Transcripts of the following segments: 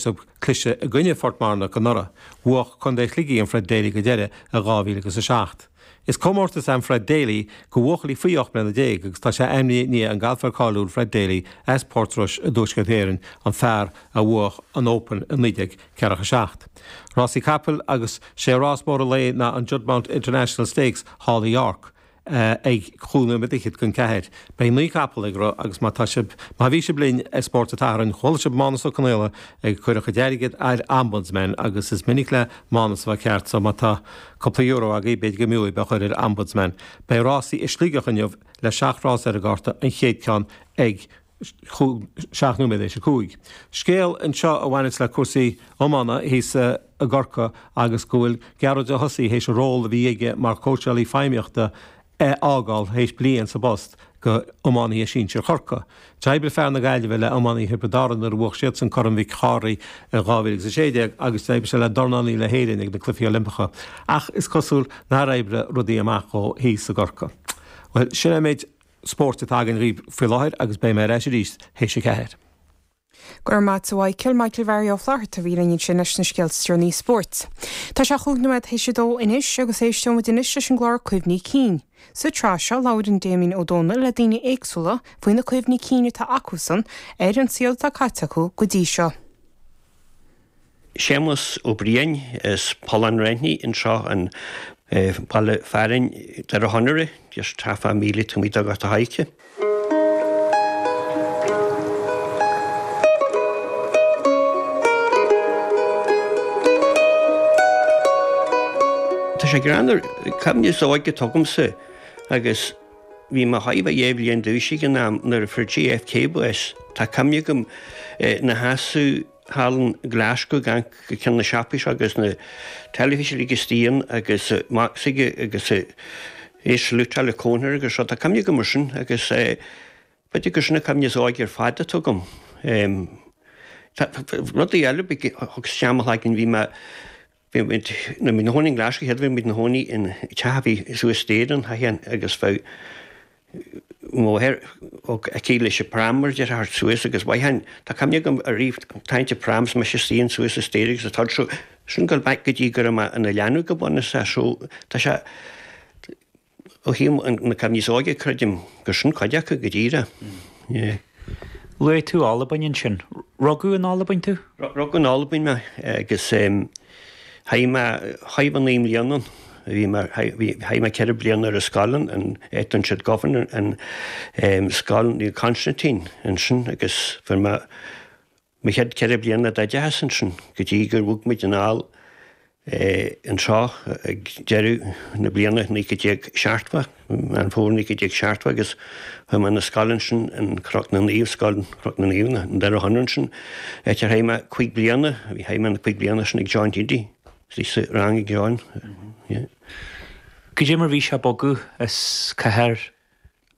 Sibh cliseadh i gcoinne Phort Mearnach anuraidh. Bhuach Contae Shligigh an Fred Daly go deireadh i 2007. Is comórtas é an Fred Daly go bhuachaillí faoi 18 mbliana agus tá sé ainmnithe i ndiaidh an galfaire cáiliúil Fred Daly as Port Rois i dTuaisceart Éireann, an fear a bhuach an Open i 1947. Rásaí capaill agus sé rás mór an lae ná an Juddmonte International Stakes thall i York. ag chúig nóiméad fhichead don ceathair. Beidh 9 capall ag rith agus má tá sibh, má bhí sibh linn ar Spórt an tSathairn, chuala sibh Mánus Ó Conaola ag cur a chuid airgid ar Ombudsman agus is minic le Mánus a bheith ceart so má tá cúpla euro agaibh b'fhéidir go mb'fhiú é a chur ar Ombudsman. Beidh rásaí i Sligeach inniu le 7 rás ar an gcárta, an chéad ceann ag 7 nóiméad théis 5. Scéal anseo a bhaineas le cúrsaí iomána thíos i gCorcaigh agus go bhfuil Gearóid Ó hOsaigh théis a ról a bhí aige mar chóitseálaí feidhmíochta a fhágáil théis bliain sa bpost go iománaithe sinsir Chorcaí. D'oibrigh fear na Gaillimhe le iománaithe Thiobraid Árann nuair a bhuach siadsan Corn Mhic Chárthaigh i 2016 agus d'oibrigh sé le dornálaí na hÉireann ag na Cluichí Oilimpeacha ach is cosúil nár oibrigh rudaí amach dhó thíos i gCorcaigh. Bhuel, sin é an méid spóirt atá againn dhaoibh faoi láthair agus beidh mé ar ais arís théis a ceathair. Go raibh maith a't a Mhichael, Michael Mhary Ó Flatharta a bhí linn ansin leis na scéalta is deireanaí spóirt. Tá sé chúig nóiméad théis a dó anois agus éisteoidh muid anois leis an gclár Cuimhní Cinn. Sa tsraith seo labhraíonn Damien Ó Dónaill le daoine éagsúla faoi na cuimhní cinn atá acusan ar an saol atá caite acu go dtí seo. Séamus Ó Briain as Pollán Raithní anseo an baile fearainn Doire Chonaire, just half a míle taobh amuigh de Ghort a' Choirce. Tá sé greannmhar, cuimhne is óige atá agamsa agus bhí mé chóir a bheith dhá bhliain d'aois ag an am nuair a fuair JFK bás. Tá cuimhne agam ina sheasamh thall in Glasgow ag amharc go ceann na siopaí seo agus na teilifísí uilig istigh ann agus mac s'aige agus é salútáil a cónair agus rud. Tá cuimhne agam ar sin agus b'fhéidir gur sin an cuimhne is óige ar fad atá agam. Rudaí eile thug isteach mo chloigeann, bhí mé Bhí muid, nuair a bhí muid ina chónaí in Glasgow, chéad bhí muid ina chónaí in teach a bhí suas staighre an theach agus bheadh mo mháthair aici leis an pram mar a déarfá thart suas agus mhaith tá cuimhne agam ariamh tarraingt an pram is mise istigh suas an staighre agus an t-ord so sin go back go dtí go raibh mé ina leanbh go bunúsach so tá sé Ó thaobh na cuimhní is óige, creidim gur sin cuid acu go díreach. Yeah. Luaigh tú Albain ansin. Rugadh in Albain tú? Rugadh in Albain mé agus chaith mé chóir a bheith 9 mbliana ann. Bhí mé, chaith mé 4 bliana ar an scoil ann, an áit a siad Govan, an scoil Naomh Constantine ansin agus fuair mé Mo chéad 4 bliana d'oideachas ansin, go dtí gur bhog muid anall anseo ag deireadh na bliana 1970, Meán Fómhair 1970, agus chuaigh mé 'na scoil ansin in Cnoc na Naomh, Scoil Chnoc na Naomh, i nDoire Chonaire ansin, áit ar chaith mé 5 bliana, bhí chaith mé na 5 bliana sin ag John Heady, bhí sa rang ag John, yeah. Cad é mar bhí sé bogadh as cathair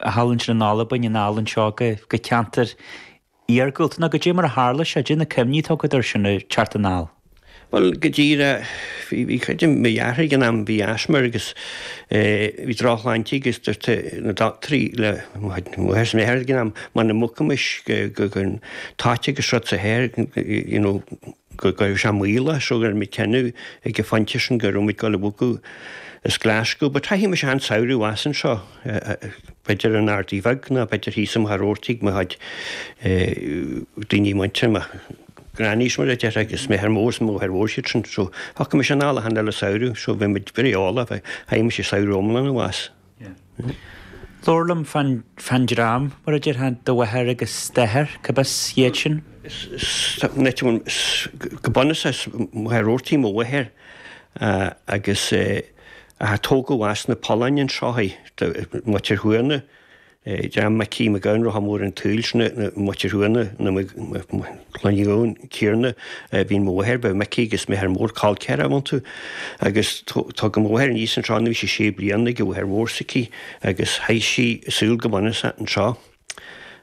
thall ansin in Albain, anall anseo go ceantar iargúlta, nó goidé mar a tharla sé, goidé na cuimhní atá agat air sin ag teacht anall. Bhuel, go díreach, bhí, bhí, creidim, mo dheartháir ag an am, bhí asthma air agus eh, bhí drochshláinte agus dúirt na dochtúirí le mo mháthair is m'athair ag an am, muna mbogfaimis go, go, go an toit agus rud sa thoir, you know, go raibh sé mbaolach so rinne muid cinneadh ag an phointe sin go raibh muid ag dul a bhogadh as Glasgow. But chaith mise an samhradh abhus anseo, b'fhéidir in Ardaidh Bheag nó b'fhéidir thíos i Machaire Rabhartaigh mo chuid daoine muintir mo grannies mar a déarfá agus m'athair mór is mo mháthair mhór siad sin. So thiocfadh mise anall achan uile samhradh so bhí muid very eolach, chaith mise samhradh iomlán abhus. Labhair liom fán dream, mar a déarfá, do mháthair agus d'athair, cad as iad sin? Go bunúsach is Machaire Rabhartaigh mo mháthair agus a tógadh as na Polláin anseo í, muintir Chuana. Dream Micí Mac Gabhann Rotha Mór an tSaoil, sin na muintir Chuana, na Clann Uí Ghabhann céanna a bhí mo mháthair, bheadh Micí agus m'athair mór col ceathrar iontu. Agus tógadh mo mháthair aníos anseo nuair a bhí sí sé bliana ag an mháthair mhór s'aici agus chaith sí a saol go bunúsach anseo.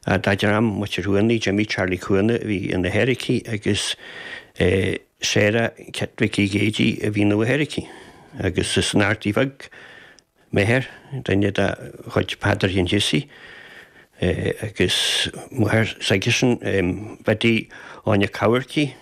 Dá dream muintir Chuana, Jimmy Charlie Cuana a bhí ina athair aici agus Sarah Kit Mhicí Géidigh a bhí ina mháthair aici. Agus is in Ardaidh Bheag m'athair, duine de chuid Peadar Sheáin Jessie, agus máthair s'aigesean, Biddy Áine Cabharcaigh.